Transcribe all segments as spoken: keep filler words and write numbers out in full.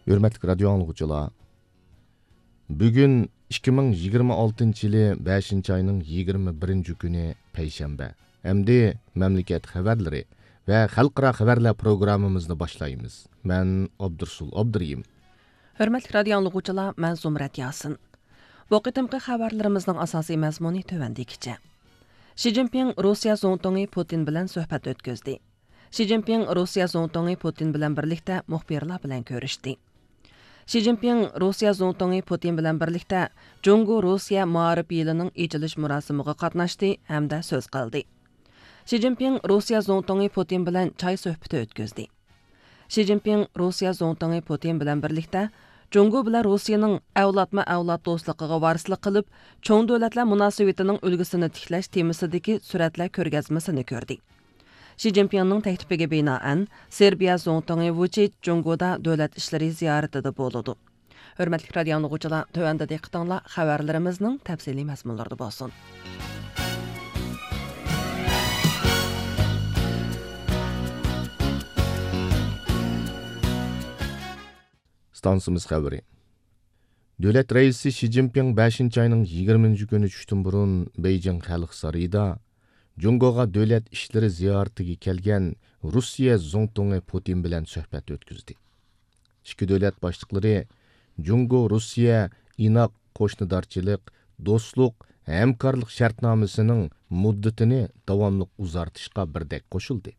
ھۆرمەتلىك رادىيو ئاڭلىغۇچىلار، بۈگۈن ئىككى مىڭ يىگىرمە ئالتىنچى يىلى بەشىنچى ئاينىڭ يىگىرمە بىرىنچى كۈنى، پەيشەنبە. ئەمدى مەملىكەت خەۋەرلىرى ۋە خەلقئارا خەۋەرلەر پروگراممىمىزنى باشلايمىز. مەن ئابدۇرسۇل ئابدۇرېھىم. ھۆرمەتلىك رادىيو ئاڭلىغۇچىلار، مەن زۇمرەت ياسىن. بۇ قېتىمقى خەۋەرلىرىمىزنىڭ ئاساسىي مەزمۇنى تۆۋەندىكىچە. شى جىنپىڭ روسىيە زۇڭتۇڭى پۇتىن بىلەن سۆھبەت ئۆتكۈزدى. شى جىنپىڭ روسىيە زۇڭتۇڭى پۇتىن بىلەن بىرلىكتە مۇخبىرلار بىلەن كۆرۈشتى. شى جىنپىڭ روسىيە زۇڭتۇڭى پۇتىن بىلەن بىرلىكتە جۇڭگو روسىيە مائارىپ يىلىنىڭ ئېچىلىش مۇراسىمىغا قاتناشتى ھەمدە سۆز قىلدى. شى جىنپىڭ روسىيە زۇڭتۇڭى پۇتىن بىلەن چاي سۆھبىتى ئۆتكۈزدى. شى جىنپىڭ روسىيە زۇڭتۇڭى پۇتىن بىلەن بىرلىكتە جۇڭگو بىلەن روسىيىنىڭ ئەۋلادمۇ ئەۋلاد دوستلۇقىغا ۋارىسلىق قىلىپ، چوڭ دۆلەتلەر مۇناسىۋىتىنىڭ ئۈلگىسىنى تىكلەش تېمىسىدىكى سۈرەتلەر كۆرگەزمىسىنى كۆردى. شى جىنپىڭنىڭ تەكلىپىگە بىنائەن، سېربىيە زۇڭتۇڭى ۋۇچىچ جۇڭگودا دۆلەت ئىشلىرى زىيارىتىدە بولىدۇ. ھۆرمەتلىك رادىيو ئاڭلىغۇچىلار، تۆۋەندە دىققىتىڭلار خەۋەرلىرىمىزنىڭ تەپسىلىي مەزمۇنلىرىدا بولسۇن. ئىستانسىمىز خەۋىرى. دۆلەت رەئىسى شى جىنپىڭ بەشىنچى ئاينىڭ يىگىرمىنچى كۈنى چۈشتىن بۇرۇن بېيجىڭ خەلق سارىيىدا جۇڭگوغا دۆلەت ئىشلىرى زىيارىتىگە كەلگەن روسىيە زۇڭتۇڭى پۇتىن بىلەن سۆھبەت ئۆتكۈزدى. ئىككى دۆلەت باشلىقلىرى جۇڭگو روسىيە ئىناق قوشنىدارچىلىق، دوستلۇق، ھەمكارلىق شەرتنامىسىنىڭ مۇددىتىنى داۋاملىق ئۇزارتىشقا بىردەك قوشۇلدى.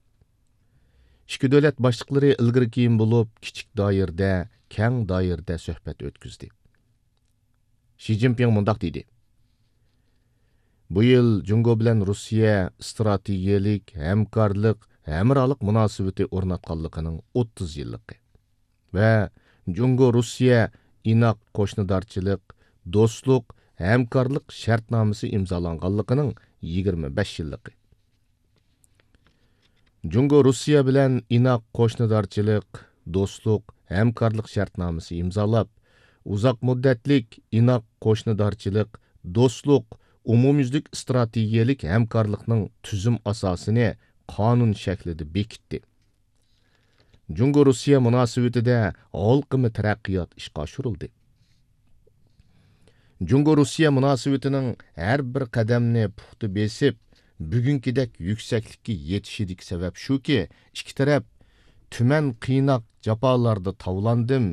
ئىككى دۆلەت باشلىقلىرى ئىلگىرى كېيىن بولۇپ كىچىك دائىرىدە، كەڭ دائىرىدە سۆھبەت ئۆتكۈزدى. شى جىنپىڭ مۇنداق دېدى: بۇ يىل جۇڭگو بىلەن روسىيە ئىستراتېگىيەلىك ھەمكارلىق، ھەمراھلىق مۇناسىۋىتى ئورناتقانلىقىنىڭ ئوتتۇز يىللىقى ۋە جۇڭگو روسىيە ئىناق قوشنىدارچىلىق، دوستلۇق، ھەمكارلىق شەرتنامىسى ئىمزالانغانلىقىنىڭ يىگىرمە بەش يىللىقى. جۇڭگو روسىيە بىلەن ئىناق قوشنىدارچىلىق، دوستلۇق، ھەمكارلىق شەرتنامىسى ئىمزالاپ، ئۇزاق مۇددەتلىك ئىناق قوشنىدارچىلىق، دوستلۇق، ئومۇميۈزلۈك ئىستراتېگىيەلىك ھەمكارلىقنىڭ تۈزۈم ئاساسىنى قانۇن شەكلىدە بېكىتتى. جۇڭگو روسىيە مۇناسىۋىتىدە ھالقىما تەرەققىيات ئىشقا ئاشۇرۇلدى. جۇڭگو روسىيە مۇناسىۋىتىنىڭ ھەر بىر قەدەمنى پۇختا بېسىپ، بۈگۈنكىدەك يۈكسەكلىككە يېتىشىدىكى سەۋەب شۇكى، ئىككى تەرەپ تۈمەن قىيناق جاپالاردا تاۋلاندىم،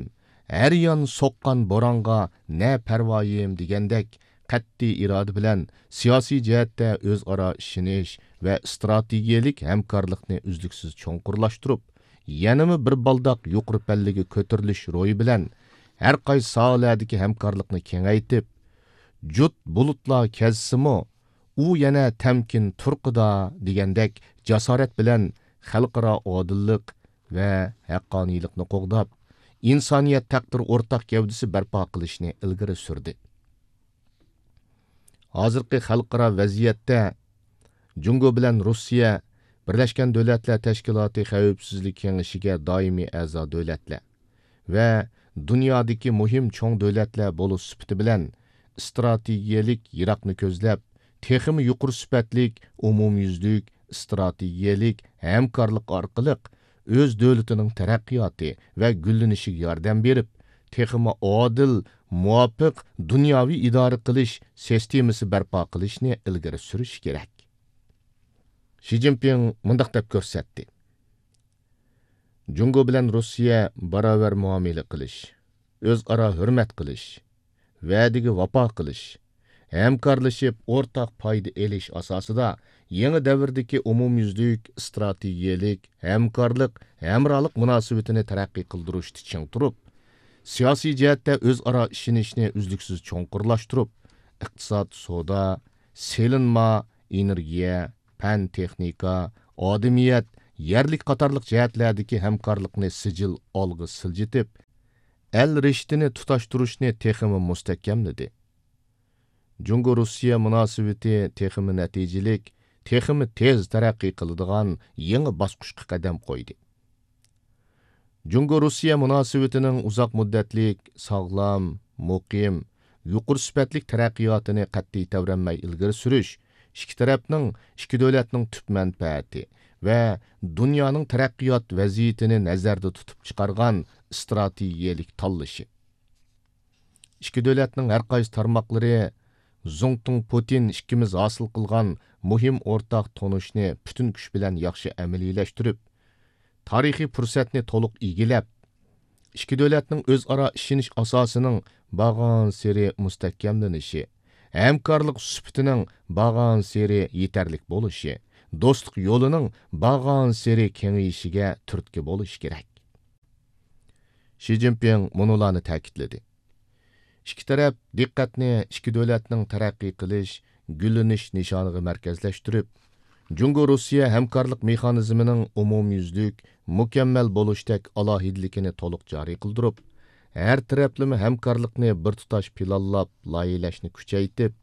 ھەر يان سوققان بورانغا نە پەرۋايىم دېگەندەك قەتئىي ئىرادە بىلەن سىياسىي جەھەتتە ئۆزئارا ئىشىنىش ۋە ئىستراتېگىيەلىك ھەمكارلىقنى ئۈزلۈكسىز چوڭقۇرلاشتۇرۇپ، يەنىمۇ بىر بالداق يۇقىرى پەللىگە كۆتۈرۈلۈش روھى بىلەن ھەر قايسى ساھەلەردىكى ھەمكارلىقنى كېڭەيتىپ، جۇت بۇلۇتلار كەزسىمۇ، ئۇ يەنە تەمكىن تۇرقىدا دېگەندەك جاسارەت بىلەن خەلقئارا ئادىللىق ۋە ھەققانىيلىقنى قوغداپ، ئىنسانىيەت تەقدىرى ئورتاق گەۋدىسى بەرپا قىلىشنى ئىلگىرى سۈردى. ھازىرقى خەلقئارا ۋەزىيەتتە جۇڭگو بىلەن روسىيە بىرلەشكەن دۆلەتلەر تەشكىلاتى خەۋپسىزلىك كېڭىشىگە دائىمىي ئەزا دۆلەتلەر ۋە دۇنيادىكى مۇھىم چوڭ دۆلەتلەر بولۇش سۈپىتى بىلەن، ئىستراتېگىيەلىك يىراقنى كۆزلەپ، تېخىمۇ يۇقىرى سۈپەتلىك ئومۇميۈزلۈك ئىستراتېگىيەلىك ھەمكارلىق ئارقىلىق ئۆز دۆلىتىنىڭ تەرەققىياتى ۋە گۈللىنىشىگە ياردەم بېرىپ، تېخىمۇ ئادىل، مۇۋاپىق دۇنياۋى ئىدارە قىلىش سىستېمىسى بەرپا قىلىشنى ئىلگىرى سۈرۈشى كېرەك. شى جىنپىڭ مۇنداق دەپ كۆرسەتتى: جۇڭگو بىلەن روسىيە باراۋەر مۇئامىلە قىلىش، ئۆزئارا ھۆرمەت قىلىش، ۋەدىگە ۋاپا قىلىش، ھەمكارلىشىپ ئورتاق پايدا ئېلىش ئاساسىدا يېڭى دەۋردىكى ئومۇميۈزلۈك ئىستراتېگىيەلىك ھەمكارلىق، ھەمراھلىق مۇناسىۋىتىنى تەرەققىي قىلدۇرۇشتا چىڭ تۇرۇپ، سىياسىي جەھەتتە ئۆزئارا ئىشىنىشنى ئۈزلۈكسىز چوڭقۇرلاشتۇرۇپ، ئىقتىساد، سودا، سېلىنما، ئېنېرگىيە، پەن، تېخنىكا، ئادىمىيەت، يەرلىك قاتارلىق جەھەتلەردىكى ھەمكارلىقنى سىجىل ئالغا سىلجىتىپ، ئەل رىشتىنى تۇتاشتۇرۇشنى تېخىمۇ مۇستەھكەملىدى. جۇڭگو روسىيە مۇناسىۋىتى تېخىمۇ نەتىجىلىك، تېخىمۇ تېز تەرەققىي قىلىدىغان يېڭى باسقۇچقا قەدەم قويدى. جۇڭگو روسىيە مۇناسىۋىتىنىڭ ئۇزاق مۇددەتلىك، ساغلام، مۇقىم، يۇقىرى سۈپەتلىك تەرەققىياتىنى قەتئىي تەۋرەنمەي ئىلگىرى سۈرۈش، ئىككى تەرەپنىڭ، ئىككى دۆلەتنىڭ تۈپ مەنپەئەتى ۋە دۇنيانىڭ تەرەققىيات ۋەزىيىتىنى نەزەردە تۇتۇپ چىقارغان ئىستراتېگىيەلىك تاللىشى. ئىككى دۆلەتنىڭ ھەر قايسى تارماقلىرى زۇڭتۇڭ پۇتىن ئىككىمىز ھاسىل قىلغان مۇھىم ئورتاق تونۇشنى پۈتۈن كۈچ بىلەن ياخشى ئەمەلىيلەشتۈرۈپ، تارىخىي پۇرسەتنى تولۇق ئىگىلەپ، ئىككى دۆلەتنىڭ ئۆزئارا ئىشىنىش ئاساسىنىڭ بارغانسېرى مۇستەھكەملىنىشى، ھەمكارلىق سۈپىتىنىڭ بارغانسېرى يېتەرلىك بولۇشى، دوستلۇق يولىنىڭ بارغانسېرى كېڭىيىشىگە تۈرتكە بولۇشى كېرەك. شى جىنپىڭ مۇنۇلارنى تەكىتلىدى: ئىككى تەرەپ دىققەتنى ئىككى دۆلەتنىڭ تەرەققىي قىلىش، گۈللىنىش نىشانىغا مەركەزلەشتۈرۈپ، جۇڭگو روسىيە ھەمكارلىق مېخانىزمىنىڭ ئومۇميۈزلۈك، مۇكەممەل بولۇشتەك ئالاھىدىلىكىنى تولۇق جارى قىلدۇرۇپ، ھەر تەرەپلىمە ھەمكارلىقنى بىر تۇتاش پىلانلاپ لايىھەلەشنى كۈچەيتىپ،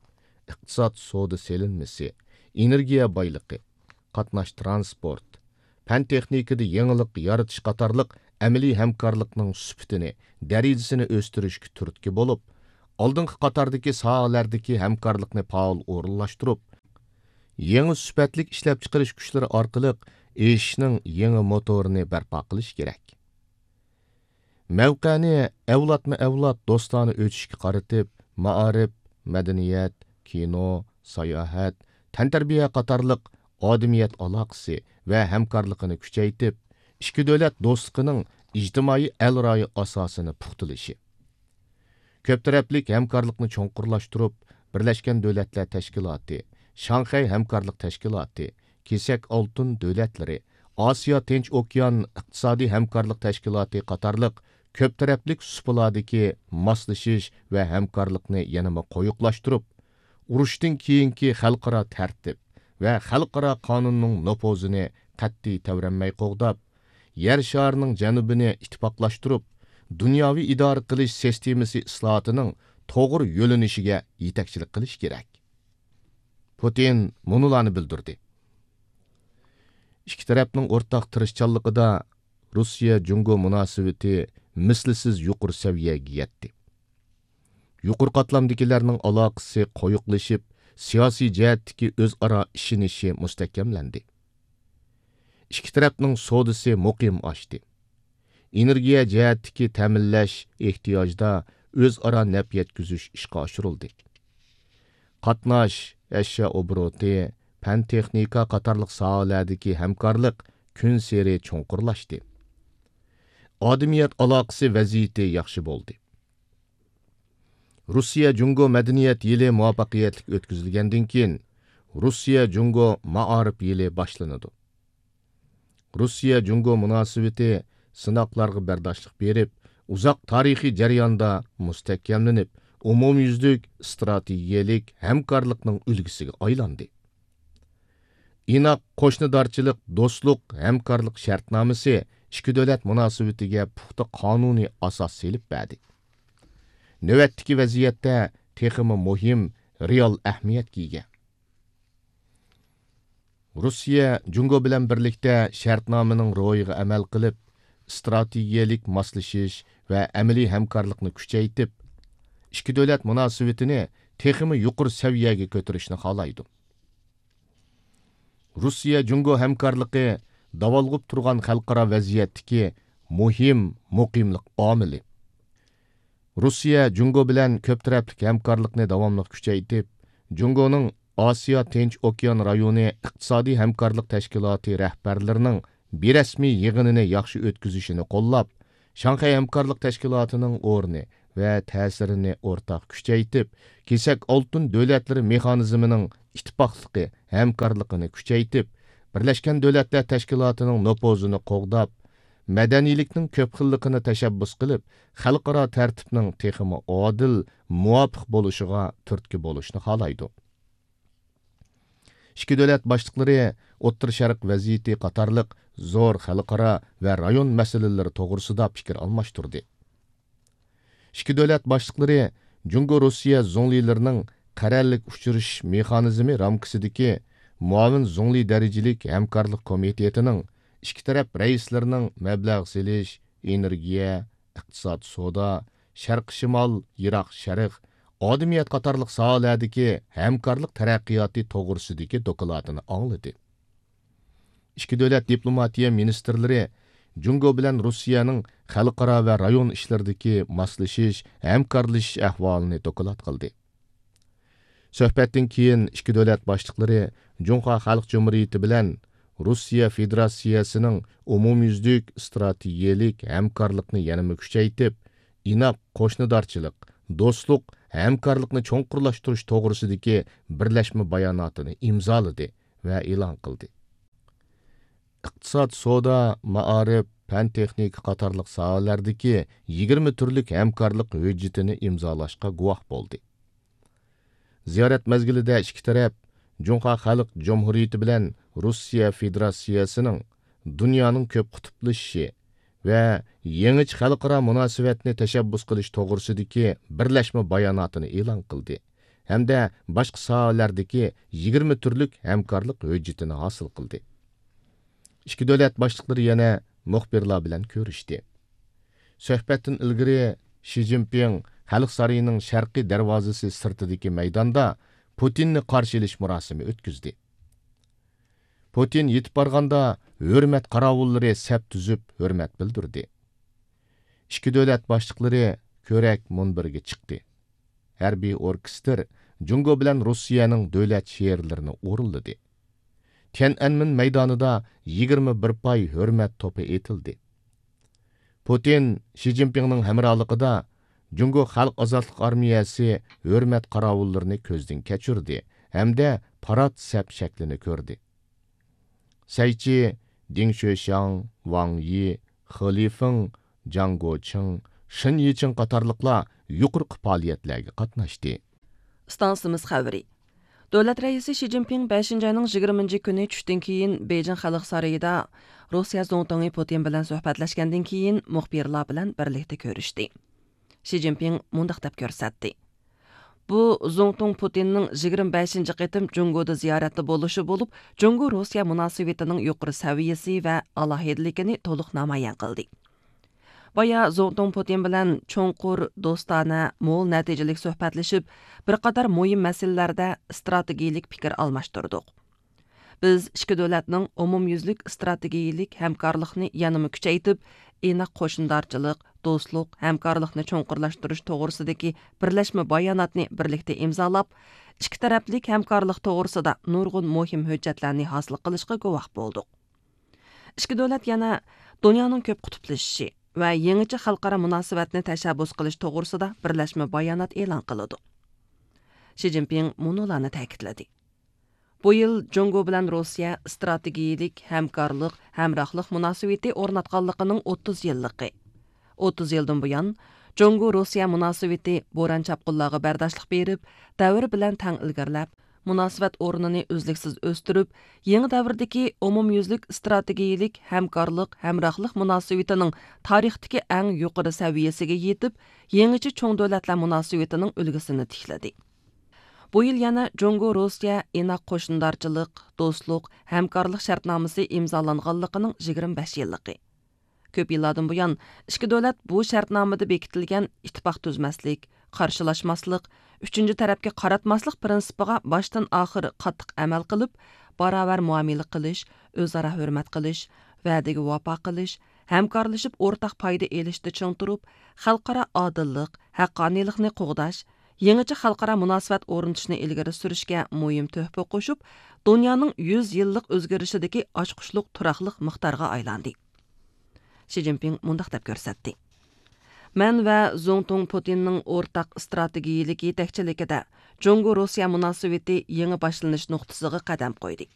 ئىقتىساد، سودا سېلىنمىسى، ئېنېرگىيە بايلىقى، قاتناش ترانسپورت، پەن تېخنىكىدا يېڭىلىق يارىتىش قاتارلىق ئەمەلىي ھەمكارلىقنىڭ سۈپىتىنى، دەرىجىسىنى ئۆستۈرۈشكە تۈرتكە بولۇپ، ئالدىنقى قاتاردىكى ساھەلەردىكى ھەمكارلىقنى پائال ئورۇنلاشتۇرۇپ، يېڭى سۈپەتلىك ئىشلەپچىقىرىش كۈچلىرى ئارقىلىق ئېشىشنىڭ يېڭى موتورىنى بەرپا قىلىش كېرەك. مەۋقەنى ئەۋلادمۇ ئەۋلاد دوستانە ئۆتۈشكە قارىتىپ، مائارىپ، مەدەنىيەت، كىنو، ساياھەت، تەنتەربىيە قاتارلىق ئادىمىيەت ئالاقىسى ۋە ھەمكارلىقىنى كۈچەيتىپ، ئىككى دۆلەت دوستلۇقىنىڭ ئىجتىمائىي ئەل رايى ئاساسىنى پۇختىلىشى. كۆپ تەرەپلىك ھەمكارلىقنى چوڭقۇرلاشتۇرۇپ، بىرلەشكەن دۆلەتلەر تەشكىلاتى، شاڭخەي ھەمكارلىق تەشكىلاتى، كېسەك ئالتۇن دۆلەتلىرى، ئاسىيا تىنچ ئوكيان ئىقتىسادىي ھەمكارلىق تەشكىلاتى قاتارلىق كۆپ تەرەپلىك سۇپىلاردىكى ماسلىشىش ۋە ھەمكارلىقنى يەنىمۇ قويۇقلاشتۇرۇپ، ئۇرۇشتىن كېيىنكى خەلقئارا تەرتىپ ۋە خەلقئارا قانۇننىڭ نوپۇزىنى قەتئىي تەۋرەنمەي قوغداپ، يەر شارىنىڭ جەنۇبىنى ئىتتىپاقلاشتۇرۇپ، دۇنياۋى ئىدارە قىلىش سىستېمىسى ئىسلاھاتىنىڭ توغرا يۆنىلىشىگە يېتەكچىلىك قىلىش كېرەك. پۇتىن مۇنۇلارنى بىلدۈردى: ئىككى تەرەپنىڭ ئورتاق تىرىشچانلىقىدا روسىيە جۇڭگو مۇناسىۋىتى مىسلىسىز يۇقىرى سەۋىيەگە يەتتى. يۇقىرى قاتلامدىكىلەرنىڭ ئالاقىسى قويۇقلىشىپ، سىياسىي جەھەتتىكى ئۆزئارا ئىشىنىشى مۇستەھكەملەندى. ئىككى تەرەپنىڭ سودىسى مۇقىم ئاشتى. ئېنېرگىيە جەھەتتىكى تەمىنلەش ئېھتىياجدا ئۆزئارا نەپ يەتكۈزۈش ئىشقا ئاشۇرۇلدى. قاتناش، ئەشيا ئوبوروتى، پەن تېخنىكا قاتارلىق ساھەلەردىكى ھەمكارلىق كۈنسېرى چوڭقۇرلاشتى. ئادىمىيەت ئالاقىسى ۋەزىيىتى ياخشى بولدى. روسىيە جۇڭگو مەدەنىيەت يىلى مۇۋەپپەقىيەتلىك ئۆتكۈزۈلگەندىن كېيىن، روسىيە جۇڭگو مائارىپ يىلى باشلىنىدۇ. روسىيە جۇڭگو مۇناسىۋىتى سىناقلارغا بەرداشلىق بېرىپ، ئۇزاق تارىخىي جەرياندا مۇستەھكەملىنىپ، ئومۇميۈزلۈك ئىستراتېگىيەلىك ھەمكارلىقنىڭ ئۈلگىسىگە ئايلاندى. ئىناق قوشنىدارچىلىق دوستلۇق ھەمكارلىق شەرتنامىسى ئىككى دۆلەت مۇناسىۋىتىگە پۇختا قانۇنىي ئاساس سېلىپ بەردى. نۆۋەتتىكى ۋەزىيەتتە تېخىمۇ مۇھىم، رېئال ئەھمىيەتكە ئىگە. روسىيە جۇڭگو بىلەن بىرلىكتە شەرتنامىنىڭ روھىغا ئەمەل قىلىپ، ئىستراتېگىيەلىك ماسلىشىش ۋە ئەمەلىي ھەمكارلىقنى كۈچەيتىپ، ئىككى دۆلەت مۇناسىۋىتىنى تېخىمۇ يۇقىرى سەۋىيەگە كۆتۈرۈشنى خالايدۇ. روسىيە جۇڭگو ھەمكارلىقى داۋالغۇپ تۇرغان خەلقئارا ۋەزىيەتتىكى مۇھىم مۇقىملىق ئامىلى. روسىيە جۇڭگو بىلەن كۆپ تەرەپلىك ھەمكارلىقنى داۋاملىق كۈچەيتىپ، جۇڭگونىڭ ئاسىيا تىنچ ئوكيان رايونى ئىقتىسادىي ھەمكارلىق تەشكىلاتى رەھبەرلىرىنىڭ بىرەسمىي يىغىنىنى ياخشى ئۆتكۈزۈشىنى قوللاپ، شاڭخەي ھەمكارلىق تەشكىلاتىنىڭ ئورنى ۋە تەسىرىنى ئورتاق كۈچەيتىپ، كېسەك ئالتۇن دۆلەتلىرى مېخانىزمىنىڭ ئىتتىپاقلىقى، ھەمكارلىقىنى كۈچەيتىپ، بىرلەشكەن دۆلەتلەر تەشكىلاتىنىڭ نوپۇزىنى قوغداپ، مەدەنىيلىكنىڭ كۆپ خىللىقىنى تەشەببۇس قىلىپ، خەلقئارا تەرتىپنىڭ تېخىمۇ ئادىل، مۇۋاپىق بولۇشىغا تۈرتكە بولۇشنى خالايدۇ. ئىككى دۆلەت باشلىقلىرى ئوتتۇرا شەرق ۋەزىيىتى قاتارلىق زور خەلقئارا ۋە رايون مەسىلىلىرى توغرىسىدا پىكىر ئالماشتۇردى. ئىككى دۆلەت باشلىقلىرى جۇڭگو روسىيە زۇڭلىلىرىنىڭ قەرەللىك ئۇچرىشىش مېخانىزمى رامكىسىدىكى مۇئاۋىن زۇڭلى دەرىجىلىك ھەمكارلىق كومىتېتىنىڭ ئىككى تەرەپ رەئىسلىرىنىڭ مەبلەغ سېلىش، ئېنېرگىيە، ئىقتىساد، سودا، شەرقىي شىمال، يىراق شەرق، ئادىمىيەت قاتارلىق ساھەلەردىكى ھەمكارلىق تەرەققىياتى توغرىسىدىكى دوكلاتىنى ئاڭلىدى. ئىككى دۆلەت دىپلوماتىيە مىنىستىرلىرى جۇڭگو بىلەن روسىيەنىڭ خەلقئارا ۋە رايون ئىشلىرىدىكى ماسلىشىش، ھەمكارلىشىش ئەھۋالىنى دوكلات قىلدى. سۆھبەتتىن كېيىن ئىككى دۆلەت باشلىقلىرى جۇڭخۇا خەلق جۇمھۇرىيىتى بىلەن روسىيە فېدېراتسىيەسىنىڭ ئومۇميۈزلۈك ئىستراتېگىيەلىك ھەمكارلىقنى يەنىمۇ كۈچەيتىپ، ئىناق قوشنىدارچىلىق، دوستلۇق، ھەمكارلىقنى چوڭقۇرلاشتۇرۇش توغرىسىدىكى بىرلەشمە باياناتىنى ئىمزالىدى ۋە ئېلان قىلدى. ئىقتىساد، سودا، مائارىپ، پەن تېخنىكا قاتارلىق ساھەلەردىكى يىگىرمە تۈرلۈك ھەمكارلىق ھۆججىتىنى ئىمزالاشقا گۇۋاھ بولدى. زىيارەت مەزگىلىدە ئىككى تەرەپ جۇڭخۇا خەلق جۇمھۇرىيىتى بىلەن روسىيە فېدېراتسىيەسىنىڭ دۇنيانىڭ كۆپ قۇتۇپلىشىشى ۋە يېڭىچە خەلقئارا مۇناسىۋەتنى تەشەببۇس قىلىش توغرىسىدىكى بىرلەشمە باياناتىنى ئېلان قىلدى ھەمدە باشقا ساھەلەردىكى يىگىرمە تۈرلۈك ھەمكارلىق ھۆججىتىنى ھاسىل قىلدى. ئىككى دۆلەت باشلىقلىرى يەنە مۇخبىرلار بىلەن كۆرۈشتى. سۆھبەتتىن ئىلگىرى شى جىنپىڭ خەلق سارىيىنىڭ شەرقىي دەرۋازىسى سىرتىدىكى مەيداندا پۇتىننى قارشى ئېلىش مۇراسىمى ئۆتكۈزدى. پۇتىن يېتىپ بارغاندا ھۆرمەت قاراۋۇللىرى سەپ تۈزۈپ ھۆرمەت بىلدۈردى. ئىككى دۆلەت باشلىقلىرى كۆرەك مۇنبىرىگە چىقتى. ھەربىي ئوركېستىر جۇڭگو بىلەن روسىيەنىڭ دۆلەت شېئىرلىرىنى ئورۇنلىدى. تيەنئەنمېن مەيدانىدا يىگىرمە بىر پاي ھۆرمەت توپى ئېتىلدى. پۇتىن شى جىنپىڭنىڭ ھەمراھلىقىدا جۇڭگو خەلق ئازادلىق ئارمىيەسى ھۆرمەت قاراۋۇللىرىنى كۆزدىن كەچۈردى ھەمدە پارات سەپ شەكلىنى كۆردى. سەيچى، دىڭ شۆشياڭ، ۋاڭ يى، خې لىفېڭ، جاڭ گوچىڭ، شېن يىچىڭ قاتارلىقلار يۇقىرىقى پائالىيەتلەرگە قاتناشتى. ئىستانسىمىز خەۋىرى. دۆلەت رەئىسى شى جىنپىڭ بەشىنچى ئاينىڭ يىگىرمىنچى كۈنى چۈشتىن كېيىن بېيجىڭ خەلق سارىيىدا روسىيە زۇڭتۇڭى پۇتىن بىلەن سۆھبەتلەشكەندىن كېيىن مۇخبىرلار بىلەن بىرلىكتە كۆرۈشتى. شى جىنپىڭ مۇنداق دەپ كۆرسەتتى: بۇ زۇڭتۇڭ پۇتىننىڭ يىگىرمە بەشىنچى قېتىم جۇڭگودا زىيارەتتە بولۇشى بولۇپ، جۇڭگو روسىيە مۇناسىۋىتىنىڭ يۇقىرى سەۋىيەسى ۋە ئالاھىدىلىكىنى تولۇق نامايان قىلدى. بايا زۇڭتۇڭ پۇتىن بىلەن چوڭقۇر، دوستانە، مول نەتىجىلىك سۆھبەتلىشىپ، بىر قاتار مۇھىم مەسىلىلەردە ئىستراتېگىيىلىك پىكىر ئالماشتۇردۇق. بىز ئىككى دۆلەتنىڭ ئومۇميۈزلۈك ئىستراتېگىيىلىك ھەمكارلىقنى يەنىمۇ كۈچەيتىپ، ئىناق قوشنىدارچىلىق، دوستلۇق، ھەمكارلىقنى چوڭقۇرلاشتۇرۇش توغرىسىدىكى بىرلەشمە باياناتنى بىرلىكتە ئىمزالاپ، ئىككى تەرەپلىك ھەمكارلىق توغرىسىدا نۇرغۇن مۇھىم ھۆججەتلەرنى ھاسىل قىلىشقا گۇۋاھ بولدۇق. ئىككى دۆلەت يەنە دۇنيانىڭ كۆپ قۇتۇپلىشىشى ۋە يېڭىچە خەلقئارا مۇناسىۋەتنى تەشەببۇس قىلىش توغرىسىدا بىرلەشمە بايانات ئېلان قىلىدۇ. شى جىنپىڭ مۇنۇلارنى تەكىتلىدى: بۇ يىل جۇڭگو بىلەن روسىيە ئىستراتېگىيىلىك ھەمكارلىق، ھەمراھلىق مۇناسىۋىتى ئورناتقانلىقىنىڭ ئوتتۇز يىللىقى. ئوتتۇز يىلدىن بۇيان، جۇڭگو روسىيە مۇناسىۋىتى بوران چاپقۇنلارغا بەرداشلىق بېرىپ، دەۋر بىلەن تەڭ ئىلگىرىلەپ، مۇناسىۋەت ئورنىنى ئۈزلۈكسىز ئۆستۈرۈپ، يېڭى دەۋردىكى ئومۇميۈزلۈك ئىستراتېگىيىلىك ھەمكارلىق، ھەمراھلىق مۇناسىۋىتىنىڭ تارىختىكى ئەڭ يۇقىرى سەۋىيەسىگە يېتىپ، يېڭىچە چوڭ دۆلەتلەر مۇناسىۋىتىنىڭ ئۈلگىسىنى تىكلىدى. بۇ يىل يەنە جۇڭگو روسىيە ئىناق قوشنىدارچىلىق، دوستلۇق، ھەمكارلىق شەرتنامىسى ئىمزالانغانلىقىنىڭ يىگىرمە بەش يىللىقى. كۆپ يىللاردىن بۇيان، ئىككى دۆلەت بۇ شەرتنامىدە بېكىتىلگەن ئىتتىپاق تۈزمەسلىك، قارشىلاشماسلىق، ئۈچىنچى تەرەپكە قاراتماسلىق پىرىنسىپىغا باشتىن ئاخىر قاتتىق ئەمەل قىلىپ، باراۋەر مۇئامىلە قىلىش، ئۆزئارا ھۆرمەت قىلىش، ۋەدىگە ۋاپا قىلىش، ھەمكارلىشىپ ئورتاق پايدا ئېلىشتا چىڭ تۇرۇپ، خەلقئارا ئادىللىق، ھەققانىيلىقنى قوغداش، يېڭىچە خەلقئارا مۇناسىۋەت ئورنىتىشنى ئىلگىرى سۈرۈشكە مۇھىم تۆھپە قوشۇپ، دۇنيانىڭ يۈز يىللىق ئۆزگىرىشىدىكى ئاچقۇچلۇق تۇراقلىق مىقدارغا ئايلاندى. شى جىنپىڭ مۇنداق دەپ كۆرسەتتى: مەن ۋە زۇڭتۇڭ پۇتىننىڭ ئورتاق ئىستراتېگىيىلىك يېتەكچىلىكىدە جۇڭگو روسىيە مۇناسىۋىتى يېڭى باشلىنىش نۇقتىسىغا قەدەم قويدى.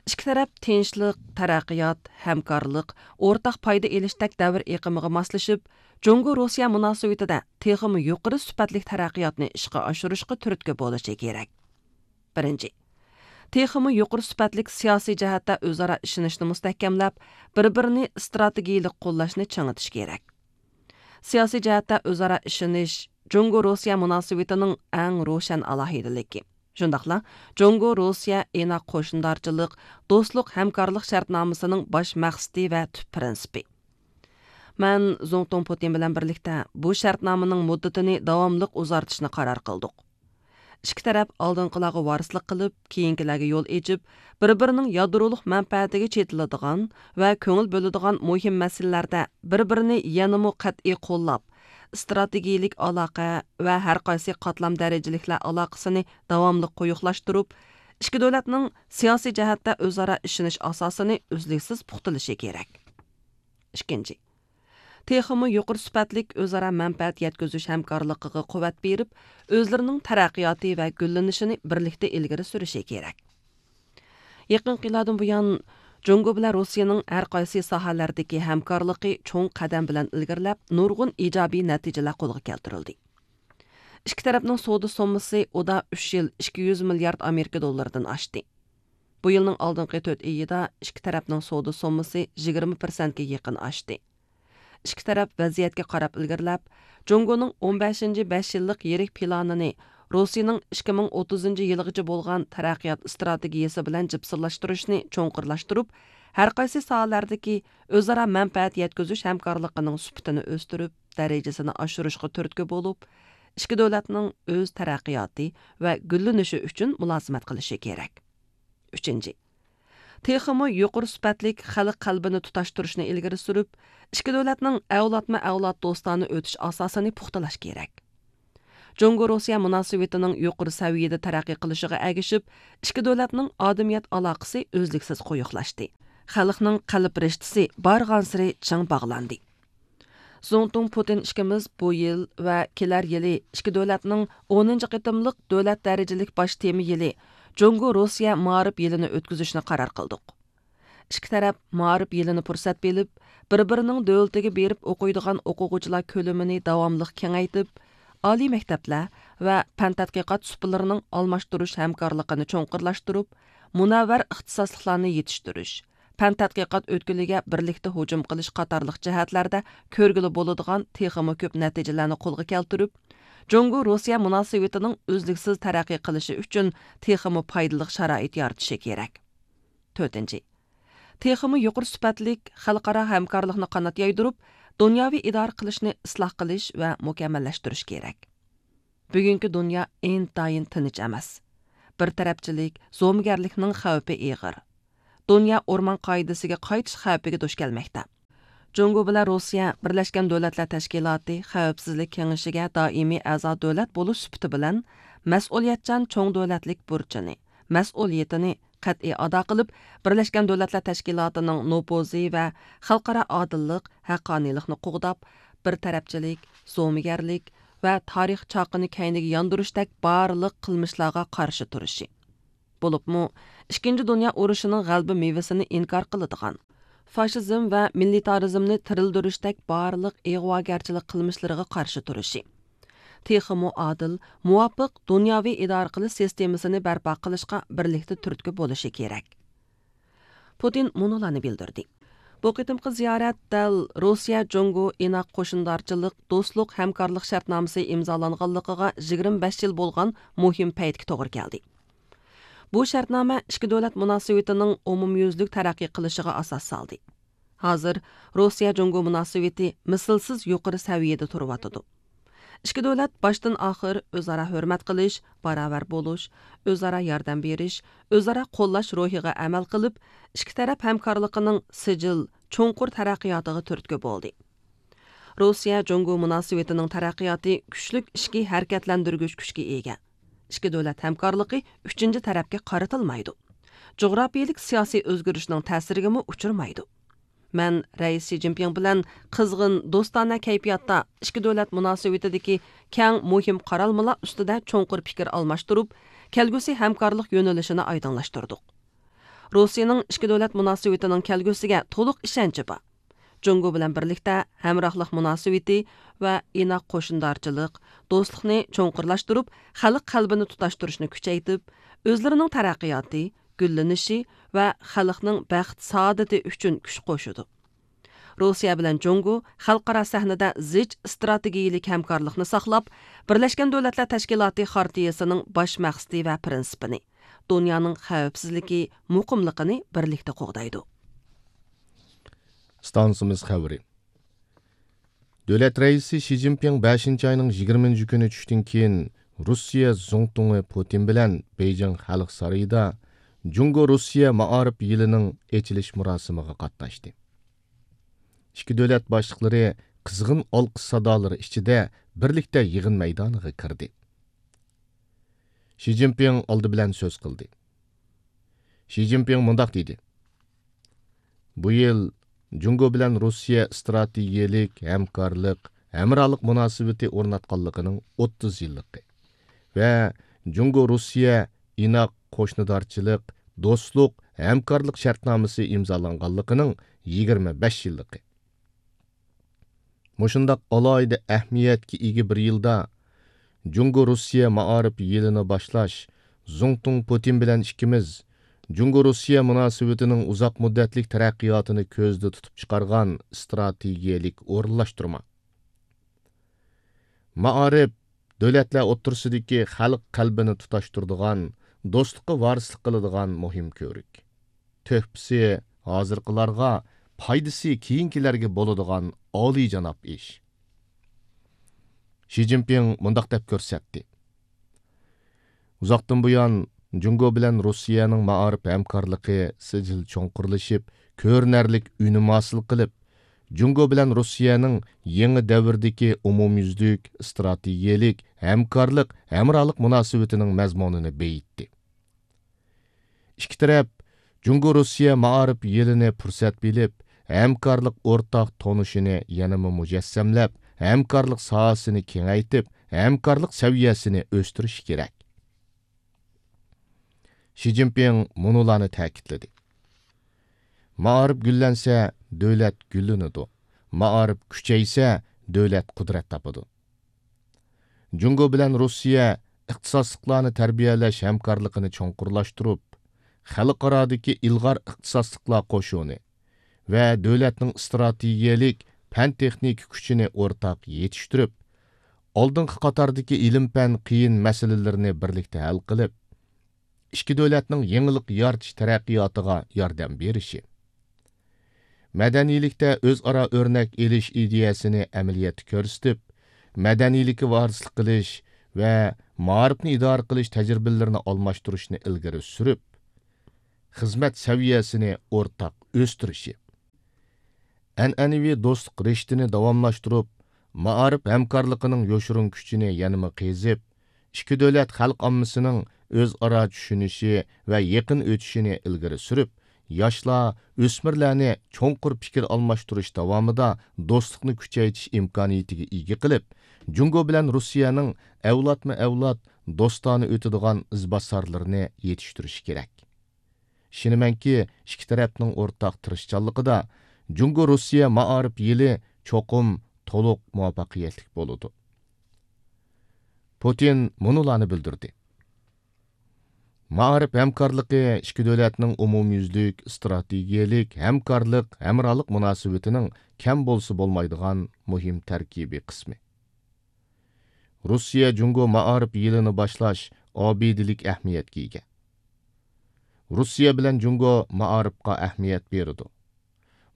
ئىككى تەرەپ تىنچلىق، تەرەققىيات، ھەمكارلىق، ئورتاق پايدا ئېلىشتەك دەۋر ئېقىمىغا ماسلىشىپ، جۇڭگو روسىيە مۇناسىۋىتىدە تېخىمۇ يۇقىرى سۈپەتلىك تەرەققىياتنى ئىشقا ئاشۇرۇشقا تۈرتكە بولۇشى كېرەك. بىرىنچى، تېخىمۇ يۇقىرى سۈپەتلىك سىياسىي جەھەتتە ئۆزئارا ئىشىنىشنى مۇستەھكەملەپ، بىر بىرىنى ئىستراتېگىيىلىك قوللاشنى چىڭىتىش كېرەك. سىياسىي جەھەتتە ئۆزئارا ئىشىنىش جۇڭگو روسىيە مۇناسىۋىتىنىڭ ئەڭ روشەن ئالاھىدىلىكى. شۇنداقلا جۇڭگو روسىيە ئىناق قوشنىدارچىلىق، دوستلۇق ھەمكارلىق شەرتنامىسىنىڭ باش مەقسىتى ۋە تۈپ پىرىنسىپى. مەن زۇڭتۇڭ پۇتىن بىلەن بىرلىكتە بۇ شەرتنامىنىڭ مۇددىتىنى داۋاملىق ئۇزارتىشنى قارار قىلدۇق. ئىككى تەرەپ ئالدىنقىلارغا ۋارىسلىق قىلىپ، كېيىنكىلەرگە يول ئېچىپ، بىر-بىرىنىڭ يادرولۇق مەنپەئەتىگە چېتىلىدىغان ۋە كۆڭۈل بۆلىدىغان مۇھىم مەسىلىلەردە بىر-بىرىنى يەنىمۇ قەتئىي قوللاپ، ئىستراتېگىيىلىك ئالاقە ۋە ھەرقايسى قاتلام دەرىجىلىكلەر ئالاقىسىنى داۋاملىق قويۇقلاشتۇرۇپ، ئىككى دۆلەتنىڭ سىياسىي جەھەتتە ئۆزئارا ئىشىنىش ئاساسىنى ئۈزلۈكسىز پۇختىلىشى كېرەك. ئىككىنچى، تېخىمۇ يۇقىرى سۈپەتلىك ئۆزئارا مەنپەئەت يەتكۈزۈش ھەمكارلىقىغا قۇۋۋەت بېرىپ، ئۆزلىرىنىڭ تەرەققىياتى ۋە گۈللىنىشىنى بىرلىكتە ئىلگىرى سۈرۈشى كېرەك. يېقىنقى يىللاردىن بۇيان، جۇڭگو بىلەن روسىيەنىڭ ھەر قايسى ساھەلەردىكى ھەمكارلىقى چوڭ قەدەم بىلەن ئىلگىرىلەپ، نۇرغۇن ئىجابىي نەتىجىلەر قولغا كەلتۈرۈلدى. ئىككى تەرەپنىڭ سودا سوممىسى ئۇدا ئۈچ يىل ئىككى يۈز مىليارد ئامېرىكا دوللىرىدىن ئاشتى. بۇ يىلنىڭ ئالدىنقى تۆت ئېيىدا ئىككى تەرەپنىڭ سودا سوممىسى يىگىرمە پىرسەنتكە يېقىن ئاشتى. ئىككى تەرەپ ۋەزىيەتكە قاراپ ئىلگىرىلەپ، جۇڭگونىڭ ئون بەشىنچى بەش يىللىق يىرىك پىلانىنى، روسىيىنىڭ ئىككى مىڭ ئوتتۇزىنچى يىلغىچە بولغان تەرەققىيات ئىستراتېگىيىسى بىلەن جىپسىلاشتۇرۇشنى چوڭقۇرلاشتۇرۇپ، ھەر قايسى ساھەلەردىكى ئۆزئارا مەنپەئەت يەتكۈزۈش ھەمكارلىقىنىڭ سۈپىتىنى ئۆستۈرۈپ، دەرىجىسىنى ئاشۇرۇشقا تۈرتكە بولۇپ، ئىككى دۆلەتنىڭ ئۆز تەرەققىياتى ۋە گۈللىنىشى ئۈچۈن مۇلازىمەت قىلىشى كېرەك. ئۈچىنچى، تېخىمۇ يۇقىرى سۈپەتلىك خەلق قەلبىنى تۇتاشتۇرۇشنى ئىلگىرى سۈرۈپ، ئىككى دۆلەتنىڭ ئەۋلادمۇ ئەۋلاد دوستانە ئۆتۈش ئاساسىنى پۇختىلاش كېرەك. جۇڭگو روسىيە مۇناسىۋىتىنىڭ يۇقىرى سەۋىيەدە تەرەققىي قىلىشىغا ئەگىشىپ، ئىككى دۆلەتنىڭ ئادىمىيەت ئالاقىسى ئۈزلۈكسىز قويۇقلاشتى. خەلقنىڭ قەلب رىشتىسى بارغانسېرى چىڭ باغلاندى. زۇڭتۇڭ پۇتىن ئىككىمىز بۇ يىل ۋە كېلەر يىلى ئىككى دۆلەتنىڭ ئونىنچى قېتىملىق دۆلەت دەرىجىلىك باش تېما يىلى، جۇڭگو روسىيە مائارىپ يىلىنى ئۆتكۈزۈشنى قارار قىلدۇق. ئىككى تەرەپ مائارىپ يىلىنى پۇرسەت بىلىپ، بىر-بىرىنىڭ دۆلىتىگە بېرىپ ئوقۇيدىغان ئوقۇغۇچىلار كۆلىمىنى داۋاملىق كېڭەيتىپ، ئالىي مەكتەپلەر ۋە پەن تەتقىقات سۇپىلىرىنىڭ ئالماشتۇرۇش ھەمكارلىقىنى چوڭقۇرلاشتۇرۇپ، مۇنەۋۋەر ئىختىساسلىقلارنى يېتىشتۈرۈش، پەن تەتقىقات ئۆتكىلىگە بىرلىكتە ھۇجۇم قىلىش قاتارلىق جەھەتلەردە كۆرگىلى بولىدىغان تېخىمۇ كۆپ نەتىجىلەرنى قولغا كەلتۈرۈپ، جۇڭگو روسىيە مۇناسىۋىتىنىڭ ئۈزلۈكسىز تەرەققىي قىلىشى ئۈچۈن تېخىمۇ پايدىلىق شارائىت يارىتىشى كېرەك. تۆتىنچى، تېخىمۇ يۇقىرى سۈپەتلىك خەلقئارا ھەمكارلىقنى قانات يايدۇرۇپ، دۇنياۋى ئىدارە قىلىشنى ئىسلاھ قىلىش ۋە مۇكەممەللەشتۈرۈش كېرەك. بۈگۈنكى دۇنيا ئىنتايىن تىنچ ئەمەس. بىر تەرەپچىلىك، زومىگەرلىكنىڭ خەۋپى ئېغىر. دۇنيا ئورمان قائىدىسىگە قايتىش خەۋپىگە دۇچ كەلمەكتە. جۇڭگو بىلەن روسىيە بىرلەشكەن دۆلەتلەر تەشكىلاتى خەۋپسىزلىك كېڭىشىگە دائىمىي ئەزا دۆلەت بولۇش سۈپىتى بىلەن، مەسئۇلىيەتچان چوڭ دۆلەتلىك بۇرچىنى، مەسئۇلىيىتىنى قەتئىي ئادا قىلىپ، بىرلەشكەن دۆلەتلەر تەشكىلاتىنىڭ نوپۇزى ۋە خەلقئارا ئادىللىق، ھەققانىيلىقنى قوغداپ، بىر تەرەپچىلىك، زومىگەرلىك ۋە تارىخ چاقىنى كەينىگە ياندۇرۇشتەك بارلىق قىلمىشلارغا قارشى تۇرۇشى. بولۇپمۇ، ئىككىنچى دۇنيا ئۇرۇشىنىڭ غەلىبە مېۋىسىنى ئىنكار قىلىدىغان، فاشىزم ۋە مىلىتارىزمنى تىرىلدۈرۈشتەك بارلىق ئىغۋاگەرچىلىك قىلمىشلىرىغا قارشى تۇرۇشى، تېخىمۇ ئادىل، مۇۋاپىق دۇنياۋى ئىدارە قىلىش سىستېمىسىنى بەرپا قىلىشقا بىرلىكتە تۈرتكە بولۇشى كېرەك. پۇتىن مۇنۇلارنى بىلدۈردى. بۇ قېتىمقى زىيارەت دەل روسىيە جۇڭگو ئىناق قوشۇندارچىلىق دوستلۇق ھەمكارلىق شەرتنامىسى ئىمزالانغانلىقىغا يىگىرمە بەش يىل بولغان مۇھىم پەيتكە توغرا كەلدى. بۇ شەرتنامە ئىككى دۆلەت مۇناسىۋىتىنىڭ ئومۇميۈزلۈك تەرەققىي قىلىشىغا ئاساس سالدى. ھازىر روسىيە جۇڭگو مۇناسىۋىتى مىسلىسىز يۇقىرى سەۋىيەدە تۇرۇۋاتىدۇ. ئىككى دۆلەت باشتىن ئاخىر ئۆزئارا ھۆرمەت قىلىش، باراۋەر بولۇش، ئۆزئارا ياردەم بېرىش، ئۆزئارا قوللاش روھىغا ئەمەل قىلىپ، ئىككى تەرەپ ھەمكارلىقىنىڭ سىجىل، چوڭقۇر تەرەققىياتىغا تۈرتكە بولدى. روسىيە جۇڭگو مۇناسىۋىتىنىڭ تەرەققىياتى كۈچلۈك ئىچكى ھەرىكەتلەندۈرگۈچ كۈچكە ئىگە. ئىككى دۆلەت ھەمكارلىقى ئۈچىنچى تەرەپكە قارىتىلمايدۇ. جۇغراپىيىلىك سىياسىي ئۆزگىرىشنىڭ تەسىرىگىمۇ ئۇچرىمايدۇ. مەن رەئىس شى جىنپىڭ بىلەن قىزغىن، دوستانە كەيپىياتتا ئىككى دۆلەت مۇناسىۋىتىدىكى كەڭ مۇھىم قارالمىلار ئۈستىدە چوڭقۇر پىكىر ئالماشتۇرۇپ، كەلگۈسى ھەمكارلىق يۆنىلىشىنى ئايدىڭلاشتۇردۇق. روسىيەنىڭ ئىككى دۆلەت مۇناسىۋىتىنىڭ كەلگۈسىگە تولۇق ئىشەنچى بار. جۇڭگو بىلەن بىرلىكتە ھەمراھلىق مۇناسىۋىتى ۋە ئىناق قوشۇندارچىلىق، دوستلۇقنى چوڭقۇرلاشتۇرۇپ، خەلق قەلبىنى تۇتاشتۇرۇشنى كۈچەيتىپ، ئۆزلىرىنىڭ تەرەققىياتى، گۈللىنىشى ۋە خەلقنىڭ بەخت-سائادىتى ئۈچۈن كۈچ قوشىدۇ. روسىيە بىلەن جۇڭگو خەلقئارا سەھنىدە زىچ ئىستراتېگىيىلىك ھەمكارلىقنى ساقلاپ، بىرلەشكەن دۆلەتلەر تەشكىلاتى خارتىيىسىنىڭ باش مەقسىتى ۋە پىرىنسىپىنى، دۇنيانىڭ خەۋپسىزلىكى، مۇقىملىقىنى بىرلىكتە قوغدايدۇ. ئىستانسىمىز خەۋىرى. دۆلەت رەئىسى شى جىنپىڭ بەشىنچى ئاينىڭ يىگىرمىنچى كۈنى چۈشتىن كېيىن روسىيە زۇڭتۇڭى پۇتىن بىلەن بېيجىڭ خەلق سارىيىدا جۇڭگو روسىيە مائارىپ يىلىنىڭ ئېچىلىش مۇراسىمىغا قاتناشتى. ئىككى دۆلەت باشلىقلىرى قىزغىن ئالقىش سادالىرى ئىچىدە بىرلىكتە يىغىن مەيدانىغا كىردى. شى جىنپىڭ ئالدى بىلەن سۆز قىلدى. شى جىنپىڭ مۇنداق دېدى: بۇ يىل جۇڭگو بىلەن روسىيە ئىستراتېگىيەلىك ھەمكارلىق، ھەمراھلىق مۇناسىۋىتى ئورناتقانلىقىنىڭ ئوتتۇز يىللىقى ۋە جۇڭگو روسىيە ئىناق قوشنىدارچىلىق، دوستلۇق، ھەمكارلىق شەرتنامىسى ئىمزالانغانلىقىنىڭ يىگىرمە بەش يىللىقى. مۇشۇنداق ئالاھىدە ئەھمىيەتكە ئىگە بىر يىلدا جۇڭگو روسىيە مائارىپ يىلىنى باشلاش، زۇڭتۇڭ پۇتىن بىلەن ئىككىمىز جۇڭگو روسىيە مۇناسىۋىتىنىڭ ئۇزاق مۇددەتلىك تەرەققىياتىنى كۆزدە تۇتۇپ چىقارغان ئىستراتېگىيەلىك ئورۇنلاشتۇرما. مائارىپ دۆلەتلەر ئوتتۇرىسىدىكى خەلق قەلبىنى تۇتاشتۇرىدىغان، دوستلۇققا ۋارىسلىق قىلىدىغان مۇھىم كۆۋرۈك. تۆھپىسى ھازىرقىلارغا، پايدىسى كېيىنكىلەرگە بولىدىغان ئالىيجاناب ئىش. شى جىنپىڭ مۇنداق دەپ كۆرسەتتى: ئۇزاقتىن بۇيان جۇڭگو بىلەن روسىيەنىڭ مائارىپ ھەمكارلىقى سىجىل چوڭقۇرلىشىپ، كۆرۈنەرلىك ئۈنۈم ھاسىل قىلىپ، جۇڭگو بىلەن روسىيەنىڭ يېڭى دەۋردىكى ئومۇميۈزلۈك ئىستراتېگىيەلىك ھەمكارلىق، ھەمراھلىق مۇناسىۋىتىنىڭ مەزمۇنىنى بېيىتتى. ئىككى تەرەپ جۇڭگو روسىيە مائارىپ يىلىنى پۇرسەت بىلىپ، ھەمكارلىق ئورتاق تونۇشىنى يەنىمۇ مۇجەسسەملەپ، ھەمكارلىق ساھەسىنى كېڭەيتىپ، ھەمكارلىق سەۋىيەسىنى ئۆستۈرۈشى كېرەك. شى جىنپىڭ مۇنۇلارنى تەكىتلىدى: مائارىپ گۈللەنسە، دۆلەت گۈللىنىدۇ. مائارىپ كۈچەيسە، دۆلەت قۇدرەت تاپىدۇ. جۇڭگو بىلەن روسىيە ئىختىساسلىقلارنى تەربىيەلەش ھەمكارلىقىنى چوڭقۇرلاشتۇرۇپ، خەلقئارادىكى ئىلغار ئىختىساسلىقلار قوشۇنى ۋە دۆلەتنىڭ ئىستراتېگىيەلىك پەن-تېخنىكا كۈچىنى ئورتاق يېتىشتۈرۈپ، ئالدىنقى قاتاردىكى ئىلىم-پەن قىيىن مەسىلىلىرىنى بىرلىكتە ھەل قىلىپ، ئىككى دۆلەتنىڭ يېڭىلىق يارىتىش تەرەققىياتىغا ياردەم بېرىشى، مەدەنىيلىكتە ئۆزئارا ئۆرنەك ئېلىش ئىدىيەسىنى ئەمەلىيەتتە كۆرسىتىپ، مەدەنىيلىككە ۋارىسلىق قىلىش ۋە مائارىپنى ئىدارە قىلىش تەجرىبىلىرىنى ئالماشتۇرۇشنى ئىلگىرى سۈرۈپ، خىزمەت سەۋىيەسىنى ئورتاق ئۆستۈرۈشى، ئەنئەنىۋى دوستلۇق رىشتىنى داۋاملاشتۇرۇپ، مائارىپ ھەمكارلىقىنىڭ يوشۇرۇن كۈچىنى يەنىمۇ قېزىپ، ئىككى دۆلەت خەلق ئاممىسىنىڭ ئۆزئارا چۈشىنىشى ۋە يېقىن ئۆتۈشىنى ئىلگىرى سۈرۈپ، ياشلار، ئۆسمۈرلەرنى چوڭقۇر پىكىر ئالماشتۇرۇش داۋامىدا دوستلۇقنى كۈچەيتىش ئىمكانىيىتىگە ئىگە قىلىپ، جۇڭگو بىلەن روسىيەنىڭ ئەۋلادمۇ ئەۋلاد دوستانە ئۆتىدىغان ئىزباسارلىرىنى يېتىشتۈرۈشى كېرەك. ئىشىنىمەنكى، ئىككى تەرەپنىڭ ئورتاق تىرىشچانلىقىدا جۇڭگو روسىيە مائارىپ يىلى چوقۇم تولۇق مۇۋەپپەقىيەتلىك بولىدۇ. پۇتىن مۇنۇلارنى بىلدۈردى: مائارىپ ھەمكارلىقى ئىككى دۆلەتنىڭ ئومۇميۈزلۈك ئىستراتېگىيەلىك ھەمكارلىق، ھەمراھلىق مۇناسىۋىتىنىڭ كەم بولسا بولمايدىغان مۇھىم تەركىبىي قىسمى. روسىيە جۇڭگو مائارىپ يىلىنى باشلاش ئابىدىلىك ئەھمىيەتكە ئىگە. روسىيە بىلەن جۇڭگو مائارىپقا ئەھمىيەت بېرىدۇ.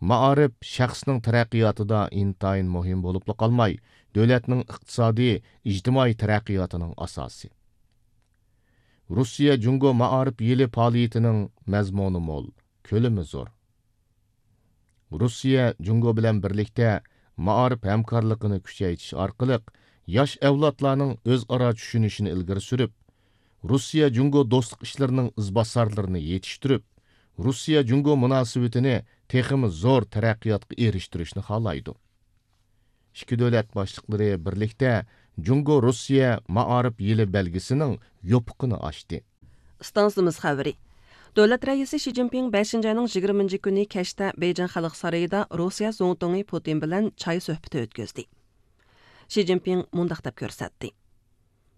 مائارىپ شەخسنىڭ تەرەققىياتىدا ئىنتايىن مۇھىم بولۇپلا قالماي، دۆلەتنىڭ ئىقتىسادىي، ئىجتىمائىي تەرەققىياتىنىڭ ئاساسى. روسىيە جۇڭگو مائارىپ يىلى پائالىيىتىنىڭ مەزمۇنى مول، كۆلىمى زور. روسىيە جۇڭگو بىلەن بىرلىكتە مائارىپ ھەمكارلىقىنى كۈچەيتىش ئارقىلىق ياش ئەۋلادلارنىڭ ئۆزئارا چۈشىنىشىنى ئىلگىرى سۈرۈپ، روسىيە جۇڭگو دوستلۇق ئىشلىرىنىڭ ئىزباسارلىرىنى يېتىشتۈرۈپ، روسىيە جۇڭگو مۇناسىۋىتىنى تېخىمۇ زور تەرەققىياتقا ئېرىشتۈرۈشنى خالايدۇ. ئىككى دۆلەت باشلىقلىرى بىرلىكتە جۇڭگو روسىيە مائارىپ يىلى بەلگىسىنىڭ يوپۇقىنى ئاچتى. ئىستانسىمىز خەۋىرى. دۆلەت رەئىسى شى جىنپىڭ بەشىنچى ئاينىڭ يىگىرمىنچى كۈنى كەچتە بېيجىڭ خەلق سارىيىدا روسىيە زۇڭتۇڭى پۇتىن بىلەن چاي سۆھبىتى ئۆتكۈزدى. شى جىنپىڭ مۇنداق دەپ كۆرسەتتى: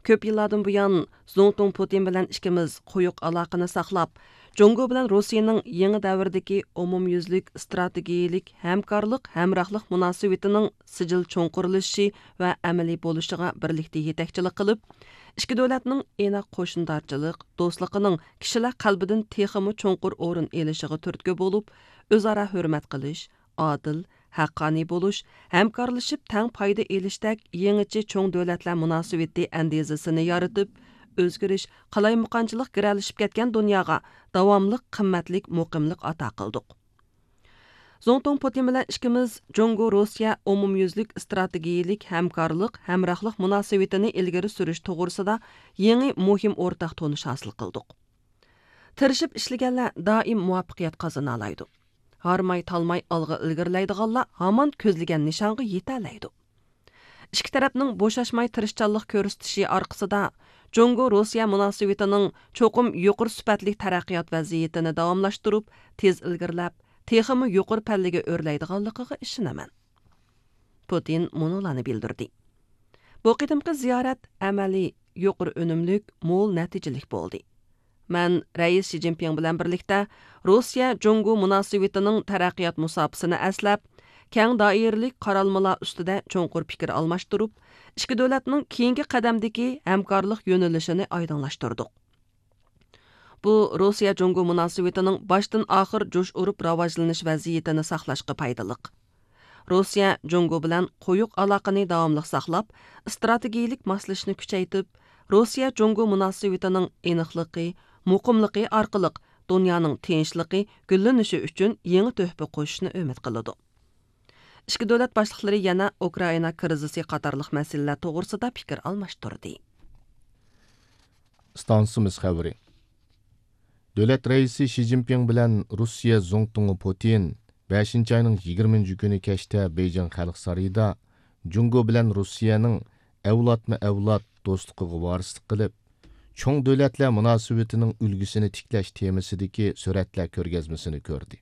كۆپ يىللاردىن بۇيان زۇڭتۇڭ پۇتىن بىلەن ئىككىمىز قويۇق ئالاقىنى ساقلاپ، جۇڭگو بىلەن روسىيەنىڭ يېڭى دەۋردىكى ئومۇميۈزلۈك ئىستراتېگىيەلىك ھەمكارلىق، ھەمراھلىق مۇناسىۋىتىنىڭ سىجىل چوڭقۇرلىشىشى ۋە ئەمەلىي بولۇشىغا بىرلىكتە يېتەكچىلىك قىلىپ، ئىككى دۆلەتنىڭ ئىناق قوشنىدارچىلىق دوستلۇقىنىڭ كىشىلەر قەلبىدىن تېخىمۇ چوڭقۇر ئورۇن ئېلىشىغا تۈرتكە بولۇپ، ئۆزئارا ھۆرمەت قىلىش، ئادىل، ھەققانىي بولۇش، ھەمكارلىشىپ تەڭ پايدا ئېلىشتەك يېڭىچە چوڭ دۆلەتلەر مۇناسىۋىتى ئەندىزىسىنى يارىتىپ، ئۆزگىرىش، قالايمىقانچىلىق گىرەلىشىپ كەتكەن دۇنياغا داۋاملىق قىممەتلىك مۇقىملىق ئاتا قىلدۇق. زۇڭتۇڭ پۇتىن بىلەن ئىككىمىز جۇڭگو روسىيە ئومۇميۈزلۈك ئىستراتېگىيىلىك ھەمكارلىق، ھەمراھلىق مۇناسىۋىتىنى ئىلگىرى سۈرۈش توغرىسىدا يېڭى مۇھىم ئورتاق تونۇش ھاسىل قىلدۇق. تىرىشىپ ئىشلىگەنلەر دائىم مۇۋەپپەقىيەت قازىنالايدۇ. ھارماي تالماي ئالغا ئىلگىرىلەيدىغانلار ھامان كۆزلىگەن نىشانغا يېتەلەيدۇ. ئىككى تەرەپنىڭ بوشاشماي تىرىشچانلىق كۆرسىتىشى ئارقىسىدا، جۇڭگو روسىيە مۇناسىۋىتىنىڭ چوقۇم يۇقىرى سۈپەتلىك تەرەققىيات ۋەزىيىتىنى داۋاملاشتۇرۇپ، تېز ئىلگىرىلەپ، تېخىمۇ يۇقىرى پەللىگە ئۆرلەيدىغانلىقىغا ئىشىنىمەن. پۇتىن مۇنۇلارنى بىلدۈردى. بۇ قېتىمقى زىيارەت ئەمەلىي، يۇقىرى ئۈنۈملۈك، مول نەتىجىلىك بولدى. مەن رەئىس شى جىنپىڭ بىلەن بىرلىكتە روسىيە جۇڭگو مۇناسىۋىتىنىڭ تەرەققىيات مۇساپىسىنى ئەسلەپ، كەڭ دائىرىلىك قارالمىلار ئۈستىدە چوڭقۇر پىكىر ئالماشتۇرۇپ، ئىككى دۆلەتنىڭ كېيىنكى قەدەمدىكى ھەمكارلىق يۆنىلىشىنى ئايدىڭلاشتۇردۇق. بۇ روسىيە جۇڭگو مۇناسىۋىتىنىڭ باشتىن ئاخىر جۇش ئۇرۇپ راۋاجلىنىش ۋەزىيىتىنى ساقلاشقا پايدىلىق. روسىيە جۇڭگو بىلەن قويۇق ئالاقىنى داۋاملىق ساقلاپ، ئىستراتېگىيىلىك ماسلىشىشنى كۈچەيتىپ، روسىيە جۇڭگو مۇناسىۋىتىنىڭ ئېنىقلىقى، مۇقىملىقى ئارقىلىق دۇنيانىڭ تىنچلىقى، گۈللىنىشى ئۈچۈن يېڭى تۆھپە قوشۇشنى ئۈمىد قىلىدۇ. ئىككى دۆلەت باشلىقلىرى يەنە ئۇكرائىنا كىرىزىسى قاتارلىق مەسىلىلەر توغرىسىدا پىكىر ئالماشتۇردى. ئىستانسىمىز خەۋىرى. دۆلەت رەئىسى شى جىنپىڭ بىلەن روسىيە زۇڭتۇڭى پۇتىن بەشىنچى ئاينىڭ يىگىرمىنچى كۈنى كەچتە بېيجىڭ خەلق سارىيىدا جۇڭگو بىلەن روسىيەنىڭ ئەۋلادمۇ ئەۋلاد دوستلۇقىغا ۋارىسلىق قىلىپ، چوڭ دۆلەتلەر مۇناسىۋىتىنىڭ ئۈلگىسىنى تىكلەش تېمىسىدىكى سۈرەتلەر كۆرگەزمىسىنى كۆردى.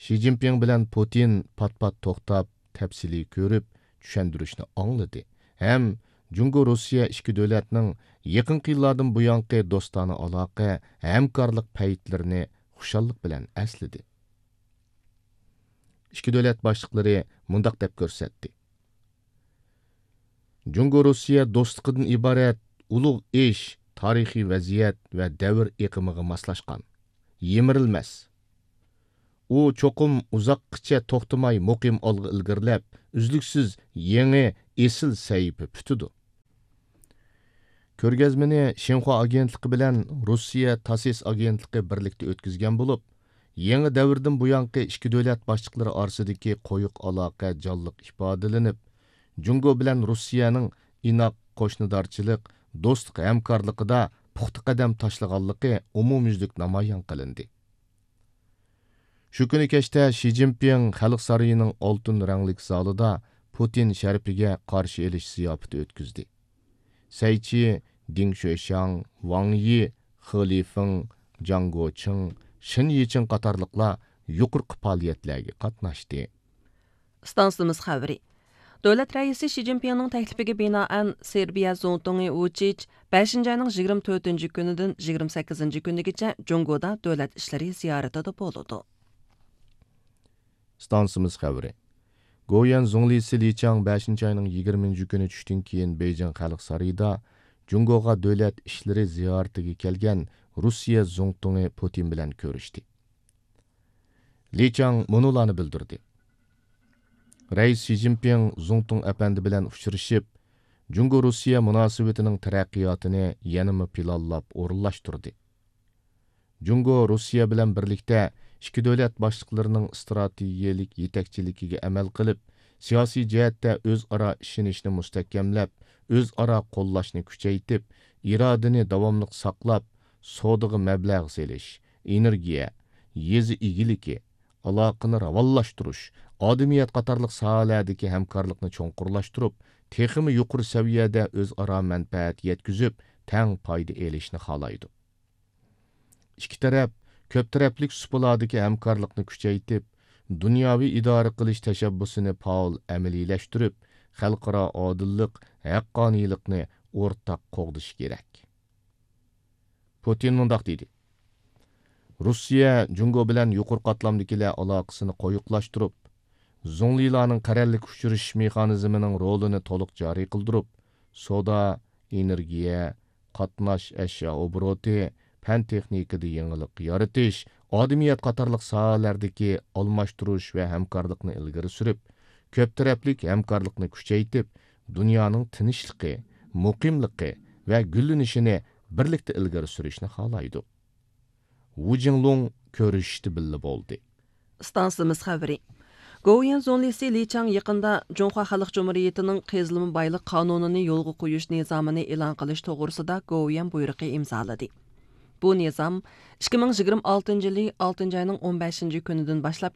شى جىنپىڭ بىلەن پۇتىن پات-پات توختاپ، تەپسىلىي كۆرۈپ، چۈشەندۈرۈشنى ئاڭلىدى ھەم جۇڭگو روسىيە ئىككى دۆلەتنىڭ يېقىنقى يىللاردىن بۇيانقى دوستانە ئالاقە، ھەمكارلىق پەيتلىرىنى خۇشاللىق بىلەن ئەسلىدى. ئىككى دۆلەت باشلىقلىرى مۇنداق دەپ كۆرسەتتى. جۇڭگو روسىيە دوستلۇقىدىن ئىبارەت ئۇلۇغ ئىش، تارىخىي ۋەزىيەت ۋە دەۋر ئېقىمىغا ماسلاشقان، يىمىرىلمەس. ئۇ چوقۇم ئۇزاققىچە توختىماي مۇقىم ئالغا ئىلگىرىلەپ، ئۈزلۈكسىز يېڭى ئېسىل سەھىپە پۈتىدۇ. كۆرگەزمىنى شىنخۇا ئاگېنتلىقى بىلەن روسىيە تاسس ئاگېنتلىقى بىرلىكتە ئۆتكۈزگەن بولۇپ، يېڭى دەۋردىن بۇيانقى ئىككى دۆلەت باشلىقلىرى ئارىسىدىكى قويۇق ئالاقە جانلىق ئىپادىلىنىپ، جۇڭگو بىلەن روسىيەنىڭ ئىناق قوشنىدارچىلىق، دوستلۇق ھەمكارلىقىدا پۇختا قەدەم تاشلىغانلىقى ئومۇميۈزلۈك نامايان قىلىندى. شۇ كۈنى كەچتە شى جىنپىڭ خەلق سارىيىنىڭ ئالتۇن رەڭلىك زالىدا پۇتىن شەرىپىگە قارشى ئېلىش زىياپىتى ئۆتكۈزدى. سەي چى، دېڭ شۆشياڭ، ۋاڭ يى، خې لىفېڭ، جاڭ گوچىڭ، شېن يىچىڭ قاتارلىقلار يۇقىرىقى پائالىيەتلەرگە قاتناشتى. ئىستانسىمىز خەۋىرى. دۆلەت رەئىسى شى جىنپىڭنىڭ تەكلىپىگە بىنائەن، سېربىيە زۇڭتۇڭى ۋۇچىچ بەشىنچى ئاينىڭ يىگىرمە تۆتىنچى كۈنىدىن يىگىرمە سەككىزىنچى كۈنىگىچە جۇڭگودا دۆلەت ئىشلىرى زىيارىتىدە بولىدۇ. ئىستانسىمىز خەۋىرى. گوۋۇيۈەن زۇڭلىسى لى چاڭ بەشىنچى ئاينىڭ يىگىرمىنچى كۈنى چۈشتىن كېيىن بېيجىڭ خەلق سارىيىدا جۇڭگوغا دۆلەت ئىشلىرى زىيارىتىگە كەلگەن روسىيە زۇڭتۇڭى پۇتىن بىلەن كۆرۈشتى. لى چاڭ مۇنۇلارنى بىلدۈردى. رەئىس شى جىنپىڭ زۇڭتۇڭ ئەپەندى بىلەن ئۇچرىشىپ، جۇڭگو روسىيە مۇناسىۋىتىنىڭ تەرەققىياتىنى يەنىمۇ پىلانلاپ ئورۇنلاشتۇردى. جۇڭگو روسىيە بىلەن بىرلىكتە ئىككى دۆلەت باشلىقلىرىنىڭ ئىستراتېگىيەلىك يېتەكچىلىكىگە ئەمەل قىلىپ، سىياسىي جەھەتتە ئۆزئارا ئىشىنىشنى مۇستەھكەملەپ، ئۆزئارا قوللاشنى كۈچەيتىپ، ئىرادىنى داۋاملىق ساقلاپ، سودىغا مەبلەغ سېلىش، ئېنېرگىيە، يېزا ئىگىلىكى، ئالاقىنى راۋانلاشتۇرۇش، ئادىمىيەت قاتارلىق ساھەلەردىكى ھەمكارلىقنى چوڭقۇرلاشتۇرۇپ، تېخىمۇ يۇقىرى سەۋىيەدە ئۆزئارا مەنپەئەت يەتكۈزۈپ، تەڭ پايدا ئېلىشنى خالايدۇ. ئىككى تەرەپ كۆپ تەرەپلىك سۇپىلاردىكى ھەمكارلىقنى كۈچەيتىپ، دۇنياۋى ئىدارە قىلىش تەشەببۇسىنى پائال ئەمەلىيلەشتۈرۈپ، خەلقئارا ئادىللىق، ھەققانىيلىقنى ئورتاق قوغدىشى كېرەك. پۇتىن مۇنداق دېدى: روسىيە جۇڭگو بىلەن يۇقىرى قاتلامدىكىلەر ئالاقىسىنى قويۇقلاشتۇرۇپ، زۇڭلىلارنىڭ قەرەللىك ئۇچرىشىش مېخانىزمىنىڭ رولىنى تولۇق جارى قىلدۇرۇپ، سودا، ئېنېرگىيە، قاتناش ئەشيا ئوبوروتى، پەن تېخنىكىدا يېڭىلىق يارىتىش، ئادەمىيەت قاتارلىق ساھەلەردىكى ئالماشتۇرۇش ۋە ھەمكارلىقنى ئىلگىرى سۈرۈپ، كۆپ تەرەپلىك ھەمكارلىقنى كۈچەيتىپ، دۇنيانىڭ تىنچلىقى، مۇقىملىقى ۋە گۈللىنىشىنى بىرلىكتە ئىلگىرى سۈرۈشنى خالايدۇ. ۋۇ جىڭلۇڭ كۆرۈشۈشتە بىللە بولدى. ئىستانسىمىز خەۋىرى. گوۋۇيۈەن زۇڭلىسى لى چاڭ يېقىندا جۇڭخۇا خەلق جۇمھۇرىيىتىنىڭ قېزىلما بايلىق قانۇنىنى يولغا قويۇش نىزامىنى ئېلان قىلىش توغرىسىدا گوۋۇيۈەن بۇيرۇقى ئىمزالىدى. بۇ نىزام ئىككى مىڭ يىگىرمە ئالتىنچى يىلى ئالتىنچى ئاينىڭ ئون بەشىنچى كۈنىدىن باشلاپ